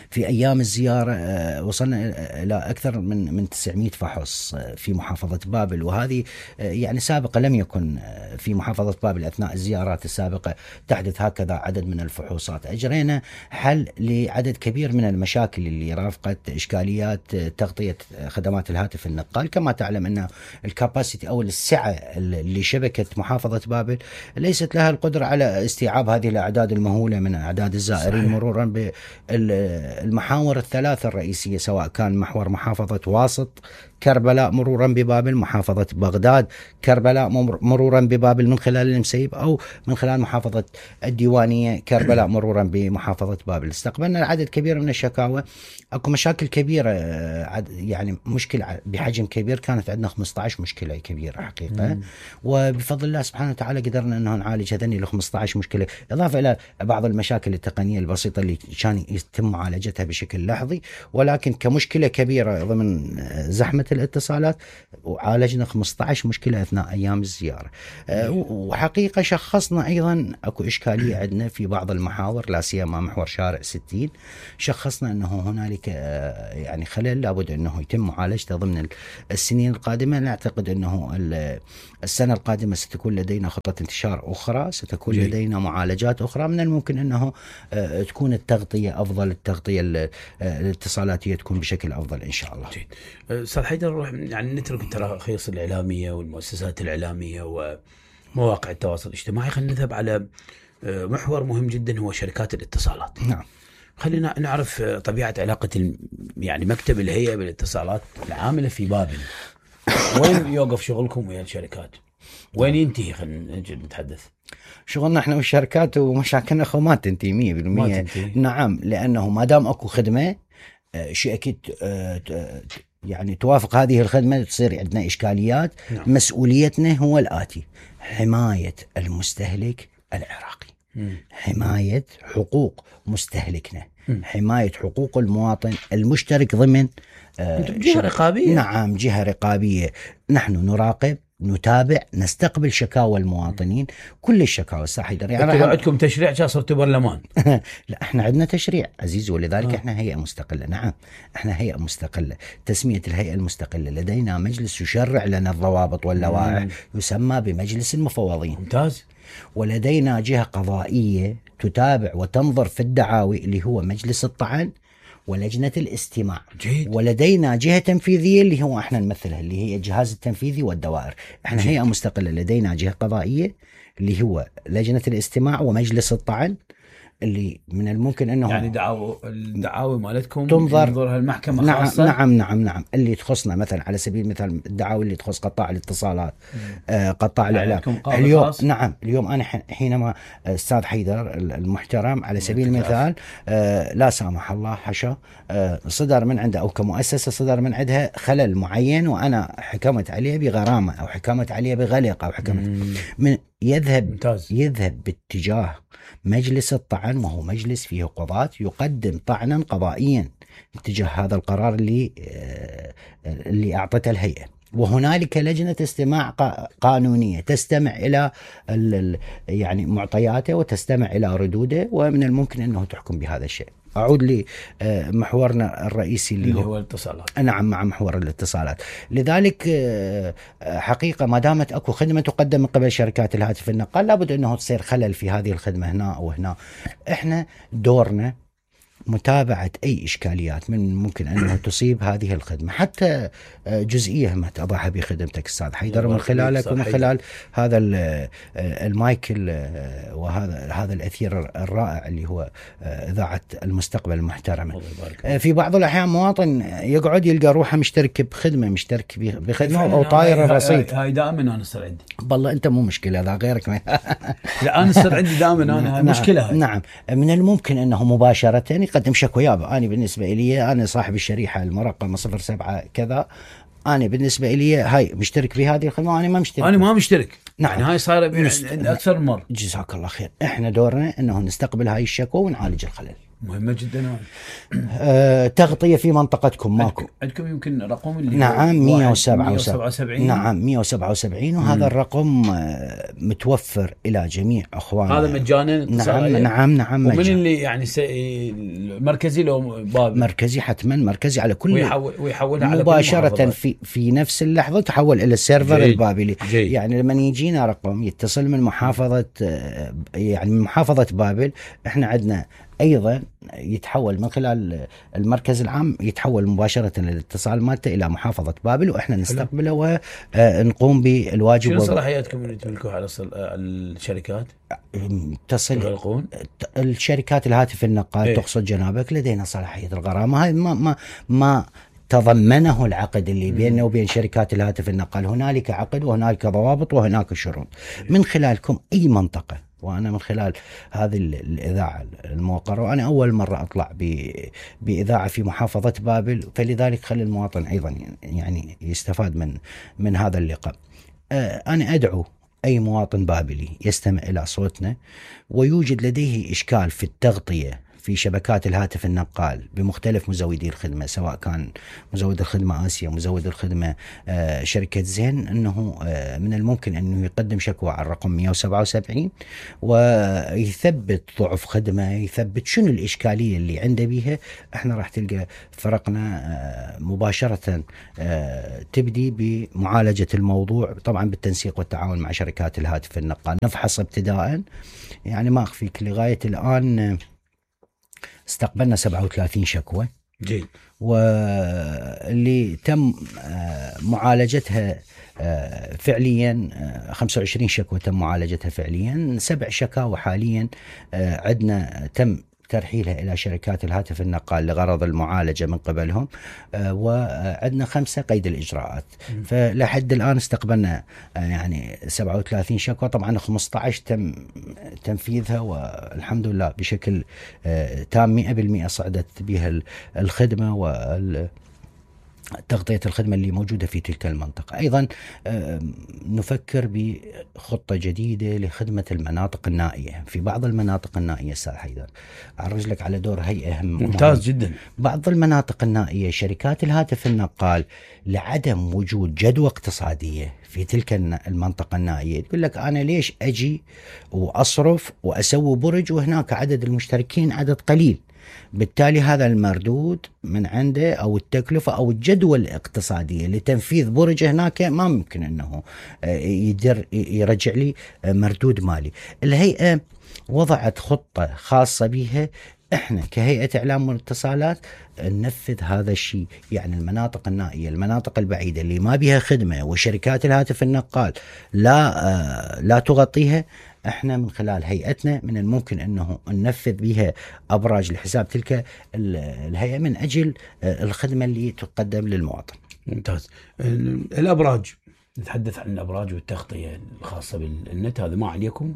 [SPEAKER 1] في أيام الزيارة وصلنا إلى أكثر من 900 فحص في محافظة بابل، وهذه يعني سابقا لم يكن في محافظة بابل أثناء الزيارات السابقة تحدث هكذا عدد من الفحوصات. أجرينا حل لعدد كبير من المشاكل اللي رافقت إشكاليات تغطية خدمات الهاتف النقال. كما تعلم أن الكاباسيتي أو السعة لشبكة محافظة بابل ليست لها القدرة على استيعاب هذه الأعداد المهولة من أعداد الزائرين. صحيح. مرورا بالمحاور الثلاثة الرئيسية، سواء كان محور محافظة واسط كربلاء مرورا ببابل، محافظة بغداد كربلاء مرورا ببابل من خلال المسيب، أو من خلال محافظة الديوانية كربلاء مرورا بمحافظة بابل. استقبلنا عدد كبير من الشكاوى. اكو مشاكل كبيرة، يعني مشكلة بحجم كبير، كانت عندنا 15 مشكلة كبيرة حقيقة. وبفضل الله سبحانه وتعالى قدرنا انه نعالج هذني ال 15 مشكلة، اضافة الى بعض المشاكل التقنية البسيطة اللي كان يتم معالجتها بشكل لحظي. ولكن كمشكلة كبيرة ضمن زحمة الاتصالات، وعالجنا 15 مشكلة اثناء ايام الزيارة. وحقيقة شخصنا ايضا اكو اشكالية عندنا في بعض المحاور، لا سيما محور شارع 60. شخصنا انه هنالك يعني خلل لابد انه يتم معالجته ضمن السنين القادمة. نعتقد انه السنة القادمة ستكون لدينا خطة انتشار اخرى، ستكون لدينا معالجات اخرى. من الممكن انه تكون التغطية افضل، التغطية الاتصالاتية تكون بشكل افضل ان شاء الله.
[SPEAKER 2] جيد. استاذ حيدر، نروح يعني نترك التراخيص الاعلامية والمؤسسات الاعلامية ومواقع التواصل الاجتماعي، خلينا نذهب على محور مهم جدا هو شركات الاتصالات.
[SPEAKER 1] نعم.
[SPEAKER 2] خلينا نعرف طبيعة علاقة يعني مكتب الهيئة بالاتصالات العاملة في بابل. وين يوقف شغلكم ويا الشركات؟ وين ينتهي؟ خلينا نتحدث.
[SPEAKER 1] شغلنا احنا والشركات ومشاكلنا ما تنتهي 100%. نعم، لأنه ما دام اكو خدمة شيء أكيد يعني توافق هذه الخدمة تصير عندنا إشكاليات. نعم. مسؤوليتنا هو الآتي: حماية المستهلك العراقي، حماية حقوق مستهلكنا، حماية حقوق المواطن المشترك ضمن
[SPEAKER 2] جهة رقابية.
[SPEAKER 1] نعم، جهة رقابية. نحن نراقب، نتابع، نستقبل شكاوى المواطنين، كل الشكاوى. الساحيدر
[SPEAKER 2] يعني عندكم تشريع صرتوا برلمان؟
[SPEAKER 1] لا، احنا عندنا تشريع عزيز، ولذلك احنا هيئة مستقلة. نعم، احنا هيئة مستقلة. تسمية الهيئة المستقلة، لدينا مجلس يشرع لنا الضوابط واللوائح يسمى بمجلس المفوضين.
[SPEAKER 2] ممتاز.
[SPEAKER 1] ولدينا جهة قضائية تتابع وتنظر في الدعاوي اللي هو مجلس الطعن ولجنة الاستماع.
[SPEAKER 2] جيد.
[SPEAKER 1] ولدينا جهة تنفيذية اللي هو احنا نمثلها، اللي هي الجهاز التنفيذي والدوائر. احنا هيئة مستقلة. لدينا جهة قضائية اللي هو لجنة الاستماع ومجلس الطعن، اللي من الممكن انه
[SPEAKER 2] يعني الدعاوى مالتكم
[SPEAKER 1] تنظرها
[SPEAKER 2] المحكمة خاصة.
[SPEAKER 1] نعم اللي تخصنا، مثلا على سبيل المثال الدعاوى اللي تخص قطاع الاتصالات، قطاع الاعلام. اليوم نعم، اليوم انا حينما استاذ حيدر المحترم على سبيل المثال لا سامح الله حشا صدر من عنده او كمؤسسة صدر من عندها خلل معين، وانا حكمت عليه بغرامة او حكمت عليه بغلق او حكمت من يذهب باتجاه مجلس الطعن، وهو مجلس فيه قضاة، يقدم طعنا قضائيا اتجاه هذا القرار اللي أعطته الهيئة. وهنالك لجنة استماع قانونية تستمع إلى يعني معطياته وتستمع إلى ردوده، ومن الممكن أنه تحكم بهذا الشيء. أعود لمحورنا الرئيسي اللي هو
[SPEAKER 2] الاتصالات.
[SPEAKER 1] نعم، مع محور الاتصالات. لذلك حقيقة ما دامت أكو خدمة تقدم من قبل شركات الهاتف النقال، لابد أنه تصير خلل في هذه الخدمة هنا أو هنا. إحنا دورنا متابعة أي إشكاليات من ممكن أنه تصيب هذه الخدمة، حتى جزئية ما تضعها بخدمتك أستاذ حيدر، من خلالك ومن خلال هذا المايك وهذا الأثير الرائع اللي هو إذاعة المستقبل المحترمة. في بعض الأحيان مواطن يقعد يلقى روحه مشترك بخدمة أو طاير الرصيد.
[SPEAKER 2] هاي دائما أنا صار عندي.
[SPEAKER 1] والله أنت مو مشكلة، ذا غيرك
[SPEAKER 2] لا، أنا صار عندي دائما أنا مشكلة.
[SPEAKER 1] نعم، من الممكن أنه مباشرة يقدم شكوى. يابا أنا بالنسبة لي أنا صاحب الشريحة المرقمة 07 كذا، أنا بالنسبة لي هاي مشترك في هذه الخدمة، أنا ما مشترك.
[SPEAKER 2] نعم. يعني هاي صار أكثر مرة.
[SPEAKER 1] جزاك الله خير. إحنا دورنا أنه نستقبل هاي الشكوى ونعالج الخلل.
[SPEAKER 2] مهمة جدا.
[SPEAKER 1] تغطية في منطقتكم ماكو؟
[SPEAKER 2] عندكم يمكن رقم اللي
[SPEAKER 1] نعم 177. نعم 177 وهذا الرقم متوفر إلى جميع أخواننا.
[SPEAKER 2] هذا مجانا؟
[SPEAKER 1] نعم
[SPEAKER 2] ومن اللي يعني مركزي لو بابل؟
[SPEAKER 1] مركزي حتما، مركزي على كل
[SPEAKER 2] ويحولها على
[SPEAKER 1] مباشرة في نفس اللحظة تحول إلى السيرفر البابلي. يعني لما يجينا رقم يتصل من محافظة، يعني من محافظة بابل، احنا عندنا أيضا يتحول من خلال المركز العام، يتحول مباشرة الاتصال مالته إلى محافظة بابل، وإحنا نستقبله ونقوم بالواجب.
[SPEAKER 2] شنو صلاحياتكم اللي تملكوها على الشركات؟
[SPEAKER 1] تصل الشركات الهاتف النقال تقصد جنابك، لدينا صلاحية الغرامة. هاي ما تضمنه العقد اللي بيننا وبين شركات الهاتف النقال. هنالك عقد وهنالك ضوابط وهناك شروط. من خلالكم أي منطقة، وأنا من خلال هذه الإذاعة الموقرة، وأنا أول مرة أطلع بإذاعة في محافظة بابل، فلذلك خلي المواطن أيضا يعني يستفاد من هذا اللقاء. أنا أدعو أي مواطن بابلي يستمع إلى صوتنا ويوجد لديه إشكال في التغطية في شبكات الهاتف النقال بمختلف مزودي الخدمة، سواء كان مزود الخدمة آسيا، مزود الخدمة شركة زين، أنه من الممكن أنه يقدم شكوى على الرقم 177 ويثبت ضعف خدمة، يثبت شنو الإشكالية اللي عنده بيها. احنا راح تلقى فرقنا مباشرة تبدي بمعالجة الموضوع، طبعا بالتنسيق والتعاون مع شركات الهاتف النقال. نفحص ابتداء، يعني ما أخفيك لغاية الآن استقبلنا 37 شكوى، واللي تم معالجتها فعليا 25 شكوى تم معالجتها فعليا. 7 شكاوى حاليا عندنا تم ترحيلها إلى شركات الهاتف النقال لغرض المعالجة من قبلهم، وعندنا 5 قيد الإجراءات. فلحد الآن استقبلنا يعني 37 شكوى، طبعا 15 تم تنفيذها والحمد لله بشكل تام 100% صعدت بها الخدمة تغطية الخدمة اللي موجودة في تلك المنطقة. أيضا نفكر بخطة جديدة لخدمة المناطق النائية. في بعض المناطق النائية أستاذ حيدر أعرج لك على دور هيئة
[SPEAKER 2] ممتاز جدا.
[SPEAKER 1] بعض المناطق النائية شركات الهاتف النقال لعدم وجود جدوى اقتصادية في تلك المنطقة النائية تقول لك أنا ليش أجي وأصرف وأسوي برج وهناك عدد المشتركين عدد قليل، بالتالي هذا المردود من عنده أو التكلفة أو الجدوى الاقتصادية لتنفيذ برج هناك ما ممكن أنه يرجع لي مردود مالي. الهيئة وضعت خطة خاصة بها، احنا كهيئة إعلام واتصالات ننفذ هذا الشيء. يعني المناطق النائية، المناطق البعيدة اللي ما بها خدمة وشركات الهاتف النقال لا تغطيها، احنا من خلال هيئتنا من الممكن انه ننفذ بها ابراج لحساب تلك الهيئة من اجل الخدمة اللي تقدم للمواطن.
[SPEAKER 2] ممتاز. الابراج، نتحدث عن الابراج والتغطية الخاصة بالنت، هذا ما عليكم؟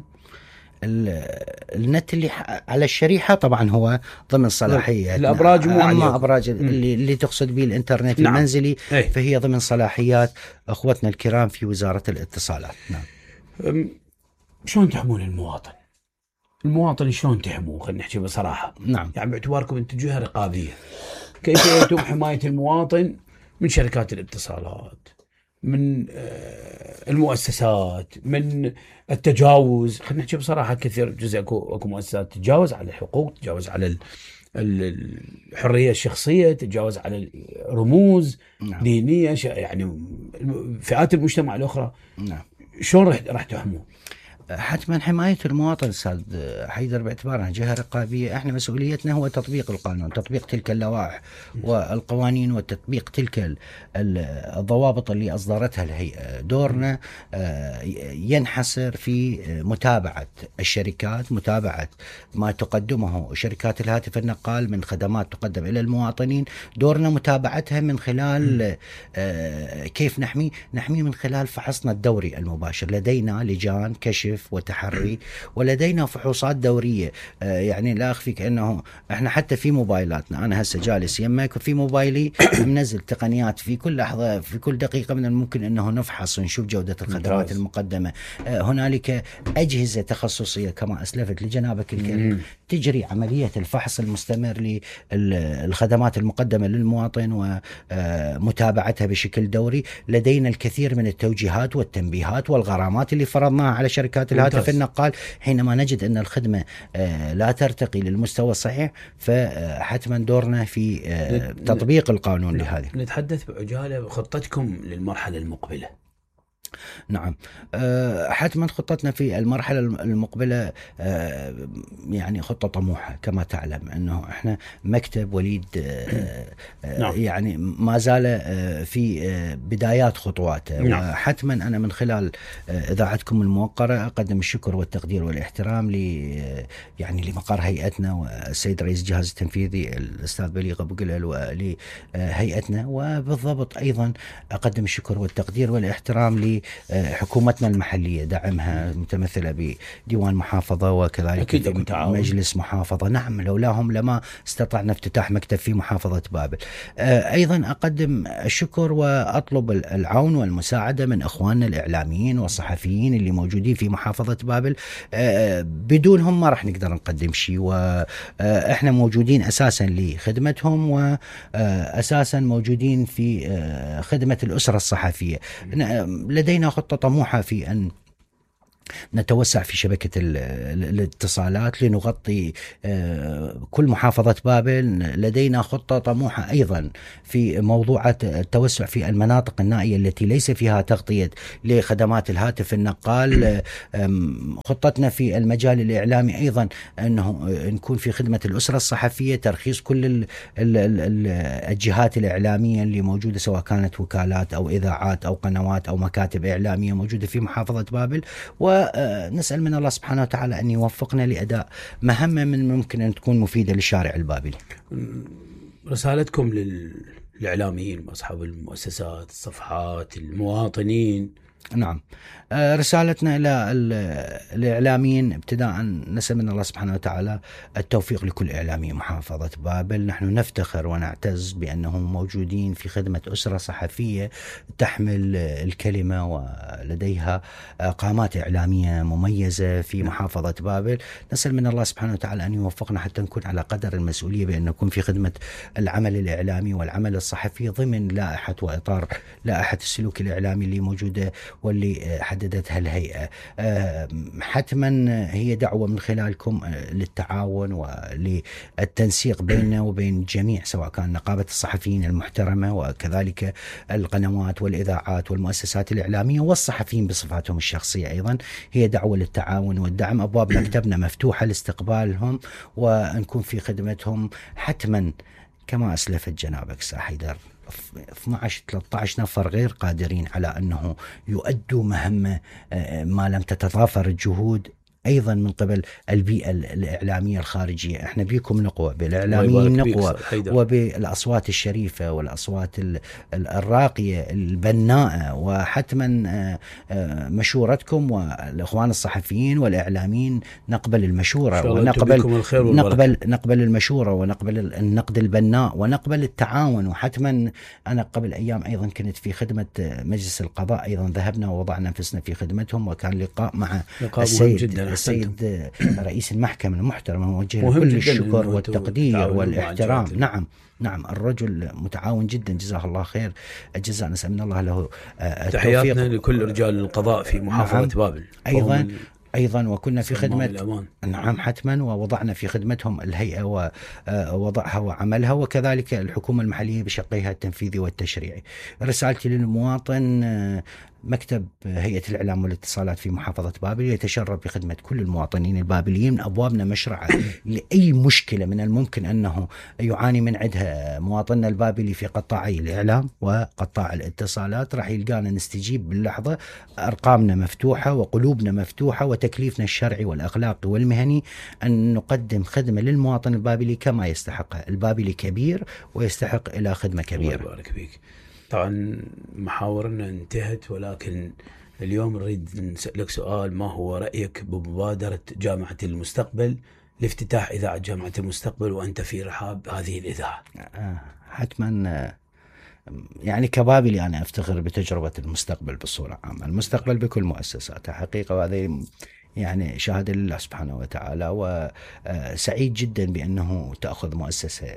[SPEAKER 1] النت اللي على الشريحة طبعا هو ضمن صلاحيات
[SPEAKER 2] الأبراج،
[SPEAKER 1] أما أبراج اللي تقصد به الإنترنت المنزلي فهي ضمن صلاحيات أخوتنا الكرام في وزارة الاتصالات.
[SPEAKER 2] نعم. شلون تحمون المواطن شلون تحموه؟ خلينا نحكي بصراحة.
[SPEAKER 1] نعم.
[SPEAKER 2] يعني باعتباركم أنتم جهة رقابية، كيف يتم حماية المواطن من شركات الاتصالات، من المؤسسات، من التجاوز؟ خلينا نحكي بصراحة، كثير جزء اكو مؤسسات تتجاوز على الحقوق، تتجاوز على الحرية الشخصية، تتجاوز على الرموز. نعم. دينية، يعني فئات المجتمع الأخرى.
[SPEAKER 1] نعم.
[SPEAKER 2] شلون راح تحموه؟
[SPEAKER 1] حتما حماية المواطن أستاذ حيدر باعتبارنا جهة رقابية، احنا مسؤوليتنا هو تطبيق القانون، تطبيق تلك اللوائح والقوانين وتطبيق تلك الضوابط اللي أصدرتها الهيئة. دورنا ينحصر في متابعة الشركات، متابعة ما تقدمه شركات الهاتف النقال من خدمات تقدم إلى المواطنين. دورنا متابعتها من خلال كيف نحمي من خلال فحصنا الدوري المباشر. لدينا لجان كشف هاتف وتحري، ولدينا فحوصات دورية. يعني لا أخفيك أنه إحنا حتى في موبايلاتنا، أنا هسه جالس يمك وفي موبايلي منزل تقنيات في كل لحظة في كل دقيقة من الممكن أنه نفحص ونشوف جودة الخدمات المقدمة. هنالك أجهزة تخصصية كما أسلفت لجنابك الكريم تجري عملية الفحص المستمر للخدمات المقدمة للمواطن ومتابعتها بشكل دوري. لدينا الكثير من التوجيهات والتنبيهات والغرامات اللي فرضناها على شركات الهاتف النقال حينما نجد أن الخدمة لا ترتقي للمستوى الصحيح، فحتما دورنا في تطبيق القانون لهذه.
[SPEAKER 2] نتحدث بعجالة خطتكم للمرحلة المقبلة.
[SPEAKER 1] نعم، حتما خطتنا في المرحلة المقبلة يعني خطة طموحة. كما تعلم أنه إحنا مكتب وليد يعني ما زال في بدايات خطواته. وحتما أنا من خلال إذاعتكم الموقرة أقدم الشكر والتقدير والاحترام يعني لمقر هيئتنا والسيد رئيس الجهاز التنفيذي الأستاذ بليغ أبو قلل ولهيئتنا، وبالضبط أيضا أقدم الشكر والتقدير والاحترام حكومتنا المحلية، دعمها متمثلة بديوان محافظة وكذلك مجلس محافظة. نعم، لولاهم لما استطعنا افتتاح مكتب في محافظة بابل. أيضا أقدم الشكر وأطلب العون والمساعدة من إخواننا الإعلاميين والصحفيين اللي موجودين في محافظة بابل. بدونهم ما راح نقدر نقدم شيء، وإحنا موجودين أساسا لخدمتهم وأساسا موجودين في خدمة الأسرة الصحفية. لدينا خطة طموحة في أن نتوسع في شبكة الاتصالات لنغطي كل محافظة بابل. لدينا خطة طموحة أيضا في موضوع التوسع في المناطق النائية التي ليس فيها تغطية لخدمات الهاتف النقال. خطتنا في المجال الإعلامي أيضا أنه نكون في خدمة الأسرة الصحفية، ترخيص كل الجهات الإعلامية اللي موجودة سواء كانت وكالات أو إذاعات أو قنوات أو مكاتب إعلامية موجودة في محافظة بابل. ونسأل من الله سبحانه وتعالى أن يوفقنا لأداء مهمة من ممكن أن تكون مفيدة للشارع البابلي.
[SPEAKER 2] رسالتكم للإعلاميين أصحاب المؤسسات، الصفحات، المواطنين.
[SPEAKER 1] نعم، رسالتنا إلى الإعلاميين ابتداء نسأل من الله سبحانه وتعالى التوفيق لكل إعلامي محافظة بابل. نحن نفتخر ونعتز بأنهم موجودين في خدمة أسرة صحفية تحمل الكلمة ولديها قامات إعلامية مميزة في محافظة بابل. نسأل من الله سبحانه وتعالى أن يوفقنا حتى نكون على قدر المسؤولية بأن نكون في خدمة العمل الإعلامي والعمل الصحفي ضمن لائحة وإطار لائحة السلوك الإعلامي اللي موجودة واللي حددتها الهيئة. حتما هي دعوة من خلالكم للتعاون وللتنسيق بيننا وبين الجميع، سواء كان نقابة الصحفيين المحترمة وكذلك القنوات والإذاعات والمؤسسات الإعلامية والصحفيين بصفاتهم الشخصية. أيضا هي دعوة للتعاون والدعم. أبواب مكتبنا مفتوحة لاستقبالهم ونكون في خدمتهم. حتما كما أسلفت جنابك أستاذ حيدر 12-13 نفر غير قادرين على أنه يؤدوا مهمة ما لم تتضافر الجهود أيضا من قبل البيئة الإعلامية الخارجية. احنا بيكم نقوى، بالإعلاميين نقوى، وبالأصوات الشريفة والأصوات الراقية البناءة. وحتما مشورتكم والإخوان الصحفيين والإعلاميين نقبل المشورة ونقبل المشورة ونقبل النقد البناء ونقبل التعاون. وحتما أنا قبل أيام أيضا كنت في خدمة مجلس القضاء، أيضا ذهبنا ووضعنا أنفسنا في خدمتهم، وكان لقاء مع السيد رئيس المحكمة المحترم، موجه كل الشكر والتقدير والاحترام. نعم الرجل متعاون جدا، جزاه الله خير الجزاء. نسأل من الله له التوفيق.
[SPEAKER 2] تحياتنا لكل رجال القضاء في محافظة بابل
[SPEAKER 1] أيضا وكنا في خدمة. نعم حتما، ووضعنا في خدمتهم الهيئة ووضعها وعملها، وكذلك الحكومة المحلية بشقيها التنفيذي والتشريعي. رسالتي للمواطن: مكتب هيئة الإعلام والاتصالات في محافظة بابل يتشرف بخدمة كل المواطنين البابليين. أبوابنا مشرعة لأي مشكلة من الممكن أنه يعاني من عندها مواطننا البابلي في قطاعي الإعلام وقطاع الاتصالات. راح يلقانا نستجيب باللحظة. أرقامنا مفتوحة وقلوبنا مفتوحة، وتكليفنا الشرعي والأخلاقي والمهني أن نقدم خدمة للمواطن البابلي كما يستحق. البابلي كبير ويستحق إلى خدمة كبيرة.
[SPEAKER 2] الله يبارك فيك. طبعا محاورنا انتهت، ولكن اليوم نريد نسألك سؤال: ما هو رأيك بمبادرة جامعة المستقبل لافتتاح إذاعة جامعة المستقبل وأنت في رحاب هذه الإذاعة؟
[SPEAKER 1] حتما يعني كبابلي أنا أفتخر بتجربة المستقبل بصورة عامة، المستقبل بكل مؤسساته حقيقة، وهذا يعني شهادة لله سبحانه وتعالى. وسعيد جدا بأنه تأخذ مؤسسة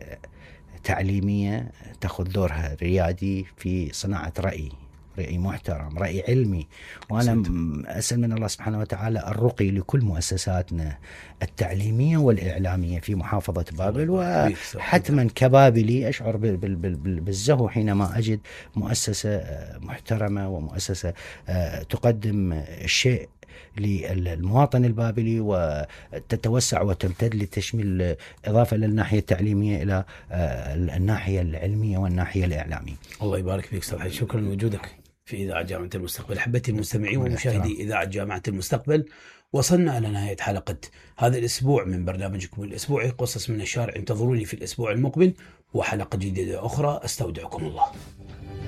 [SPEAKER 1] تعليمية تأخذ دورها ريادي في صناعة رأي محترم، رأي علمي. وأنا أسأل من الله سبحانه وتعالى الرقي لكل مؤسساتنا التعليمية والإعلامية في محافظة بابل. وحتما كبابلي أشعر بالزهو حينما أجد مؤسسة محترمة ومؤسسة تقدم الشيء للمواطن البابلي وتتوسع وتمتد لتشمل إضافة للناحية التعليمية إلى الناحية العلمية والناحية الإعلامية.
[SPEAKER 2] الله يبارك فيك أستاذ حيد، شكرا لوجودك في إذاعة جامعة المستقبل. أحبتي المستمعين ومشاهدي إذاعة جامعة المستقبل، وصلنا إلى نهاية حلقة هذا الأسبوع من برنامجكم الأسبوعي قصص من الشارع. انتظروني في الأسبوع المقبل وحلقة جديدة أخرى. أستودعكم الله.